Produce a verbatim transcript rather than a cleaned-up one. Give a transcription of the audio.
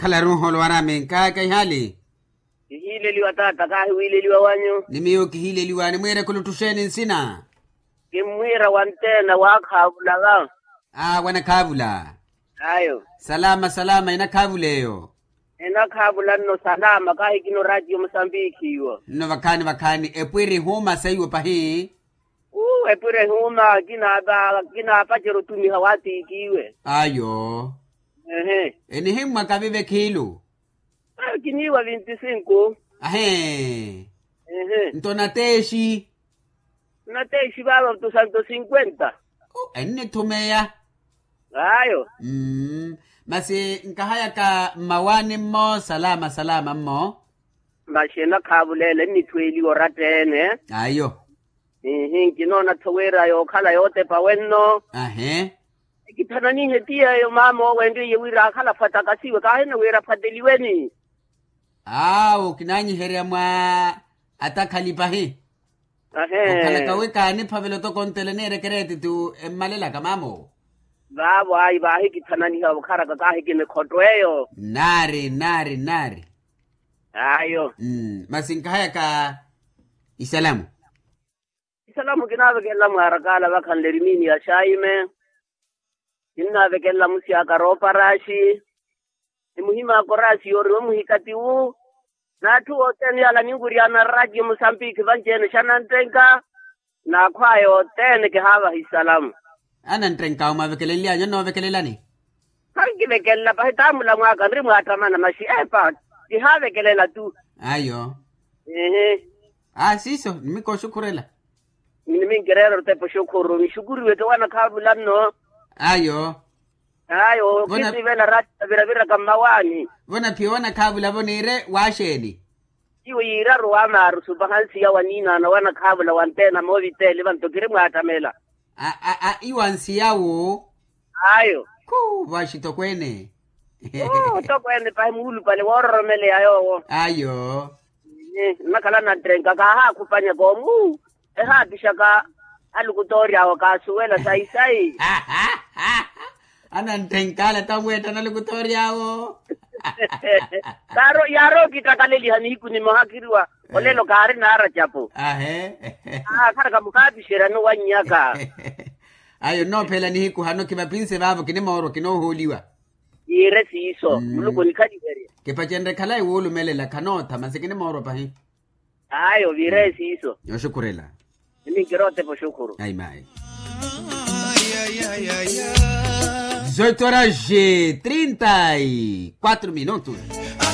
Khalaru nholowara minka kaihali. Kihiileliwa taata kahi wiileliwa wanyu. Ni miyo kihiileliwa nimwiire khuluttuxeeni nsina. Kimmwiira wanteena waakhaavula va. Aa wanakhaavula. Ayo. Salama salama enakhaavula eyo. Enakhaavula nno salama kahi kino ratiyo musambikhi iwo. Nno vakhaani vakhaani epwiri huuma seiwo pahi. Uu epwiri huuma kinaapacera otumiha waatiikiwe. Ayo. Ehe. Enihimmwaka vive khiilu. Kiniiwa vinti sinku. Ahee. Ehe. Nto nateexi. Nateexi vaava tu santo sinkwenta. Ennithumeya. Ayo. Masi nkahayaka mmawaani mmo salama salama mmo. Masi enakhaavula ele ennithweeliwa oratta-ene. Ayo. Ihi nkinoona-tho wira yookhala yootepa wenno. Ahe. Ekithananihe ti yeeyo maama owo enriye wira aakhala afatakasiwe kaahina wira afateliweni. Aawo kinaanyiherya mwa atakhali pahi. Ahe. Okhalaka wi kaaniphavela otoko ontele niireke reetitu emmalelaka maama owo. Vaavo ayi vaahikithananiha okharaka kaahi kinikhotto eyo. Nnaari nnaari nnaari. Ayo. Masi nkahayaka isalamu. Isalamu kinaavekelela mwaarakaala vakhanle erimiini ya xaime. Kinnaavekelela musi aka rooparaxi. Ni muhim'aka oraxi yooriwa muhikati wu. N'atthu othene yaala ninwiryaana ratiyo musambikhi vanci-ene xananttenka. N'akhw'aya othene kihaavaha isalamu. Ananttenk'awe mwaavekelenly'anyu onnoovekelelani. Khankivekelela pahi taamula mwaka nri mwaattamana maxi epa. Kihaavekelela tu. Ayo. Ehe. Aa siiso nimikooxukhurela. Niminkireera otepa oxukhuru nixukuriwe ti owanakhaavula nno. Ayo. Ayo kisiivela ratta viraviraka mmawaani. Vo naphiya owanakhaavula vo niire waaxeeni? Iwo yiiraru waamaaru supaha nsiya wa niinaana owanakhaavula wanteena moovitteeli vanto kiri mwaattamela. A a a iwa nsiya wu. Ayo. Khuu vaaxi tokweene. Tokweene pahi muulupale woororomeleya yoowo. Ayo. Nnakhala anantthenka kaahaakhupanyaka omu. Ehaapixaka alukutoori awo kaasuwela sayi sayi. Anantthenkaala tamweetta nalukutoori awo. Yaarookittakaleliha nihiku nimoha khiriwa. Olelo kaari naaracapu. Aakharaka mukaapixeryani owannyaka. Ayo nnoophela nihiku hano khivapinse vaavo kinimoorwa kinoohooliwa. Yiire siiso muluku onikhaliherye. Kipacenrye khalayi woolumelela khanootha masi kinimoorwa pahi. Ayo viire siiso. Yooxukhurela. Niminkirotepa oxukhuru. Ayi mayi. Zoito horas e trinta e quatro minutos.